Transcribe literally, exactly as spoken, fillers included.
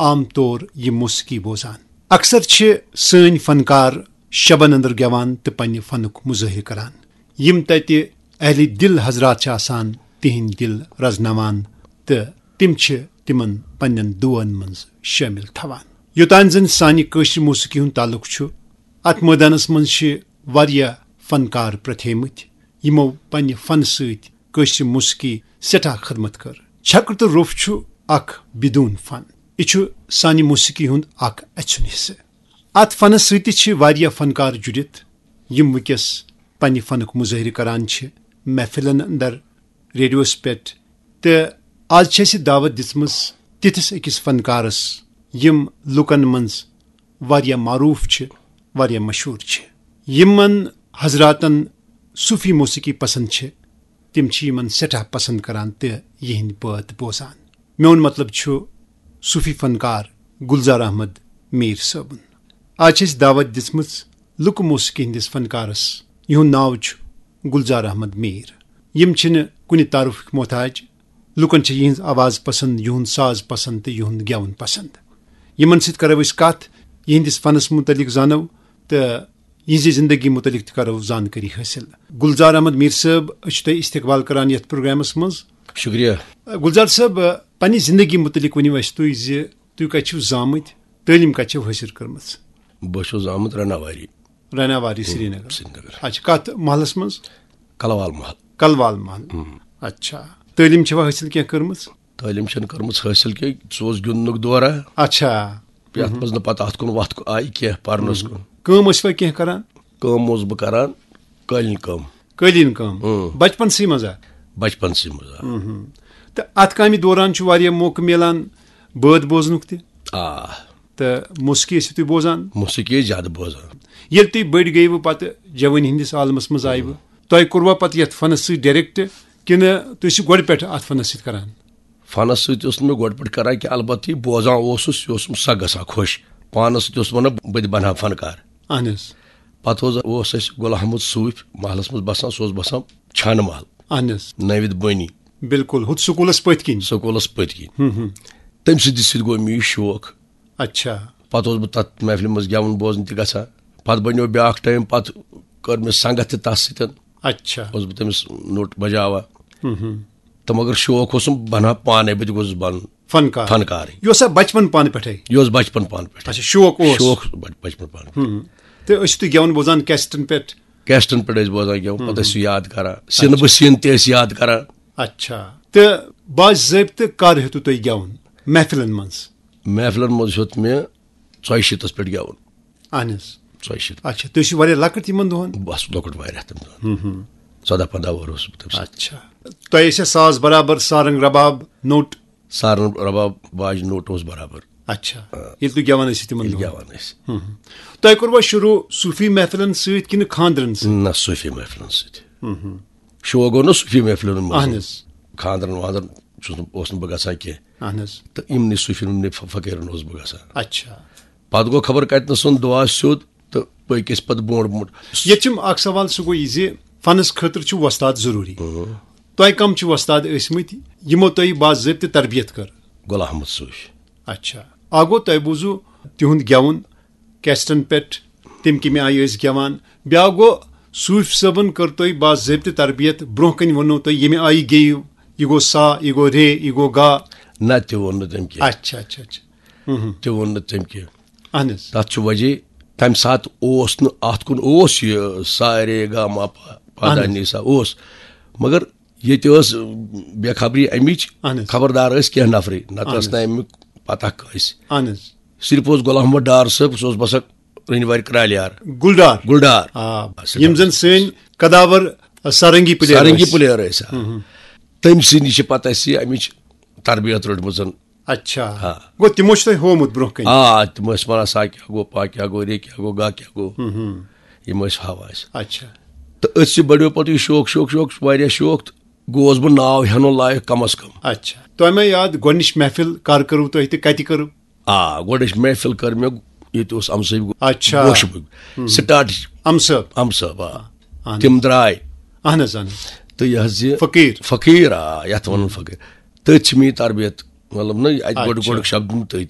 عام طور یہِ موسیقی بوزان۔ اکثر چھِ سٲنۍ فنکار شبن اندر گٮ۪وان تہٕ پننہِ فنُک مظٲہرٕ کران۔ یِم تتہِ اہلِ دل حضرات چھِ آسان، تِہنٛدۍ دل رزناوان تہٕ تِم چھِ تِمن پننٮ۪ن دُعن منٛز شٲمِل تھاوان۔ یوٚتام زن سانہِ کٲشرِ موسیقی ہُنٛد تعلق چھُ، اتھ مٲدانس منٛز چھِ واریاہ فنکار پرٛتھیمٕتۍ، یِمو پننہِ فنہٕ سۭتۍ کٲشرِ موسیقی سٮ۪ٹھاہ خدمت کٔر۔ چھکر تہٕ روٚف چھُ اکھ بدون فن۔ یہِ چھُ سانہِ موسیقی ہُنٛد اکھ اَژھُن حصہٕ۔ اتھ فنس سۭتۍ تہِ چھِ واریاہ فنکار جُڑِتھ، یِم وٕنکیٚس پننہِ فنُک مظٲہرٕ کران چھِ محفلن اندر، ریڈیوس پٮ۪ٹھ۔ تہٕ آز چھِ اَسہِ دعوت دِژمٕژ تِتھِس أکِس فنکارس، یِم لُکن منٛز واریاہ معروٗف چھِ، واریاہ مشہوٗر چھِ۔ یِمن حضراتن صوٗفی موسیقی پسند چھِ، تِم چھِ یِمن سٮ۪ٹھاہ پسند کران تہٕ یِہنٛدۍ بٲتھ بوزان۔ میون مطلب چھُ صوٗفی فنکار گلزار احمد میٖر صٲبُن۔ آز چھِ اَسہِ دعوت دِژمٕژ لُکہٕ موسیقی ہٕنٛدِس فنکارس، یِہُنٛد ناو چھُ گلزار احمد میٖر۔ یِم چھِنہٕ کُنہِ تعارُفٕکۍ محتاج۔ لُکن چھِ یِہنٛز آواز پسند، یِہُنٛد ساز پسند تہٕ یِہُنٛد گٮ۪وُن پسند۔ یِمن سۭتۍ کرو أسۍ کتھ، یِہنٛدِس فنس متعلق زانو تہٕ یِہنٛزِ زندگی متعلق تہِ کرو زانکٲری حٲصِل۔ گلزار احمد میٖر صٲب، أسۍ چھِ تۄہہِ استقبال کران یتھ پروگرامس منٛز۔ شکریہ۔ گلزار صٲب، پننہِ زندگی متعلق ؤنِو اَسہِ تُہۍ زِ تُہۍ کتہِ چھِو زامٕتۍ، تعلیٖم کتہِ چھِو حٲصِل کٔرمٕژ؟ بہٕ چھُس زامُت رناواری۔ رناواری، سرینگر۔ سرینگر۔ اچھا، کتھ محلس منٛز؟ کلوال محل۔ کلوال محل۔ اچھا، تعلیٖم چھوا حٲصِل کینٛہہ کٔرمٕژ؟ تعلیٖم چھَنہٕ کٔرمٕژ حٲصِل کینٛہہ، سُہ اوس گِنٛدنُک دورہ۔ اچھا۔ یَتھ منٛز نہٕ پَتہٕ اَتھ کُن وَتھ آیہِ کینٛہہ پَرنَس کُن۔ کٲم ٲسوا کینٛہہ کران؟ کٲم اوسُس بہٕ کران، قٲلیٖن کٲم۔ قٲلیٖن کٲم؟ اۭں۔ بچپنسٕے منٛزا؟ بچپنسٕے منٛز، آ۔ تہٕ اَتھ کامہِ دوران چھُ واریاہ موقعہٕ میلان بٲتھ بوزنُک تہِ؟ آ۔ تہٕ موسیقی ٲسِو تُہۍ بوزان؟ موسیقی ٲسۍ زیادٕ بوزان۔ ییٚلہِ تُہۍ بٔڑۍ گٔیوٕ، پتہٕ جوٲنی ہٕنٛدِس عالمس منٛز آیوٕ، تۄہہِ کوٚروا پتہٕ یتھ فنس سۭتۍ ڈایریکٹ، کِنہٕ تُہۍ ٲسِو گۄڈٕ پٮ۪ٹھ اتھ فنس سۭتۍ کران؟ فنس سۭتۍ اوس نہٕ مےٚ گۄڈٕ پٮ۪ٹھ کران کینٛہہ، البتہٕ یہِ بوزان اوسُس، یہِ اوسُم سکھ گژھان خۄش۔ پانس سۭتۍ اوسُس ونان، بہٕ تہِ بنہٕ ہا فنکار۔ اہن حظ۔ پتہٕ اوس، اوس اَسہِ غلام محمد صوٗفۍ محلس منٛز بسان، سُہ اوس بسان چھانہٕ محل، اہن حظ۔ نٲوِد بٲنی۔ بالکل، ہُتھ سکوٗلس پٔتۍ کِنۍ۔ سکوٗلس پٔتۍ کِنۍ۔ ہُم، ہُم۔ تٔمۍ سٕنٛدِ سۭتۍ گوٚو مےٚ یہِ شوق۔ اچھا۔ پتہٕ اوسُس بہٕ تتھ محفلہِ منٛز گٮ۪وُن بوزنہِ تہِ گژھان۔ پتہٕ بنیو بیٛاکھ ٹایم، پتہٕ کٔر مےٚ سنگت تہِ تس سۭتۍ۔ اچھا۔ اوسُس بہٕ تٔمِس نوٚٹ بجاوان۔ ہُم، ہُم۔ تہٕ مگر شوق اوسُم بنان پانے، بہٕ تہِ گوٚژھُس بنُن فنکار۔ فنکارٕے۔ یہِ اوسا بچپن پانہٕ پٮ۪ٹھے؟ یہِ اوس بچپن پانہٕ پٮ۪ٹھے۔ اچھا، شوق اوس۔ شوق بچ-، بچپن پانہٕ پٮ۪ٹھے۔ ہُم۔ تہٕ ٲسِو تُہۍ گٮ۪وُن بوزان کیسٹن پٮ۪ٹھ؟ کیسٹن پٮ۪ٹھ ٲسۍ بوزان گٮ۪وُن، ہُم، پتہٕ ہُم۔ ٲسۍ سُہ یاد کران۔ سِنہٕ اچھا۔ بہٕ سِن تہِ ٲسۍ یاد کران۔ اچھا۔ تہٕ باضٲبطہٕ کر ہیوٚتوٕ تۄہہِ گٮ۪وُن محفلن منٛز؟ محفلن منٛز ہیوٚت مےٚ ژۄیہِ شیٖتس پٮ۪ٹھ گٮ۪وُن۔ اہن حظ۔ ژۄیہِ شیٖتھ۔ اچھا، تُہۍ ٲسِو واریاہ لۄکٕٹۍ تِمن دۄہن؟ بس لۄکُٹ واریاہ تِم دۄہن۔ ہُم، ہُم۔ ژۄداہ پنٛداہ وُہُر اوسُس بہٕ تَمہِ ساتہٕ۔ اچھا۔ تۄہہِ ٲسیا ساز برابر، سارنگ، رباب، نوٚٹ؟ سارنگ، رباب، باجہِ، نوٚٹ اوس برابر۔ اچھا۔ آ۔ ییٚلہِ تُہۍ گٮ۪وان ٲسِو تِمن ییٚلہِ دۄہن؟ گٮ۪وان ٲسۍ۔ ہُم، ہُم۔ تۄہہِ کوٚروا شروٗع صوٗفی محفلن سۭتۍ کِنہٕ خاندرن سۭتۍ؟ نہ، صوٗفی محفلن سۭتۍ۔ ہُم، ہُم۔ شوق گوٚو نہ صوٗفی محفلن منٛز۔ اہن حظ۔ خاندرن واندرن چھُس نہٕ، اوس نہٕ بہٕ گژھان کینٛہہ۔ اہن حظ۔ تہٕ یِمنٕے صوٗفی، یِمنٕے ف-، فقیٖرن اوسُس بہٕ گژھان۔ اچھا۔ پتہٕ گوٚو خبر کتہِ نس سُنٛد دُعا سیوٚد تہٕ پٔکۍ أسۍ پتہٕ برونٛٹھ برونٛٹھ۔ ییٚتہِ چھُم اکھ سوال، سُہ گوٚو یہِ زِ فنس خٲطرٕ چھُ وۄستاد ضروٗری۔ اۭں۔ تۄہہِ کم چھِ وۄستاد ٲسۍ مٕتۍ، یِمو تۄہہِ باضٲبطہٕ تربیت کٔر؟ غلام محمد صوٗفۍ۔ اچھا۔ اکھ گوٚو تۄہہِ بوٗزوٕ تِہُنٛد گٮ۪وُن کیسٹن پٮ۪ٹھ، تِم کمہِ آیہِ ٲسۍ گٮ۪وان؟ بیٛاکھ گوٚو صوٗفۍ صٲبن کٔر تۄہہِ باضٲبطہٕ تربیت، برونٛہہ کنہِ ووٚنوٕ تۄہہِ ییٚمہِ آیہِ گیٚیِو، یہِ گوٚو سا، یہِ گوٚو رے، یہِ گوٚو گا۔ نہ، تہِ ووٚن نہٕ تٔمۍ کینٛہہ۔ اچھا، اچھا، اچھا۔ ہُم، ہُم۔ تہِ ووٚن نہٕ تٔمۍ کینٛہہ۔ اہن حظ۔ تَتھ چھُ وجہ، تَمہِ ساتہٕ اوس نہٕ، اَتھ کُن اوس یہِ سا رے گا ما پا، پا اہن دا حظ۔ نی سا اوس، مگر ییٚتہِ ٲس بے خبری اَمِچ، اہن حظ۔ خبردار ٲسۍ کینٛہہ نفرٕے، نتہٕ اہن ٲس نہٕ حظ۔ اَمیُک پتہ کٲنٛسہِ۔ اہن حظ۔ صرف اوس غلام محمد ڈار صٲب، سُہ اوس باسان رنہِ وارِ کرٛالہِ یار۔ گُلڈار۔ گُلڈار۔ آ، سُہ یِم ڈار۔ زن سٲنۍ قداور سارنگی پلیئر سارنگی ٲسۍ۔ پلیئر ٲسۍ، آ۔ ہُم، ہُم۔ تٔمۍ سٕے نِش چھِ پتہ اَسہِ یہِ اَمِچ تربیت رٔٹمٕژ۔ اچھا۔ آ۔ گوٚو تِمو چھُ تۄہہِ ہوومُت برونٛہہ کنہِ؟ آ، تِم ٲسۍ وَنان، سا کیٛاہ گوٚو، پا کیٛاہ گوٚو، رے کیٛاہ گوٚو، گا کیٛاہ گوٚو۔ ہُم، ہُم۔ یِم ٲسۍ ہاوان اَسہِ۔ اچھا۔ تہٕ أتھۍ سۭتۍ بڑیو پتہٕ یہِ شوق، شوق، شوق، واریاہ شوق، تہٕ گوس بہٕ ناو ہٮ۪نُن لایق کم از کم۔ اچھا۔ تۄہہِ ما یاد گۄڈٕنِچ محفل کر کٔرٕو تۄہہِ تہٕ کتہِ کٔرٕو؟ آ، گۄڈٕنِچ محفل کٔر مےٚ، ییٚتہِ اوس اَمسٲے اچھا۔ گوشہِ بٔگۍ۔ ہُم۔ سٹاٹ۔ اَمہٕ صٲب۔ اَمہٕ صٲب، آ۔ اہن۔ تِم درٛاے۔ اہن حظ، اہن حظ۔ تہٕ یہِ حظ یہِ فقیٖر۔ فقیٖر، آ، یَتھ وَنان فقیٖر۔ تٔتھۍ چھِ مےٚ یہِ تربیت، مطلب نہ، اَتہِ گۄڈٕ، اچھا۔ گۄڈٕ شبدُن تٔتھۍ۔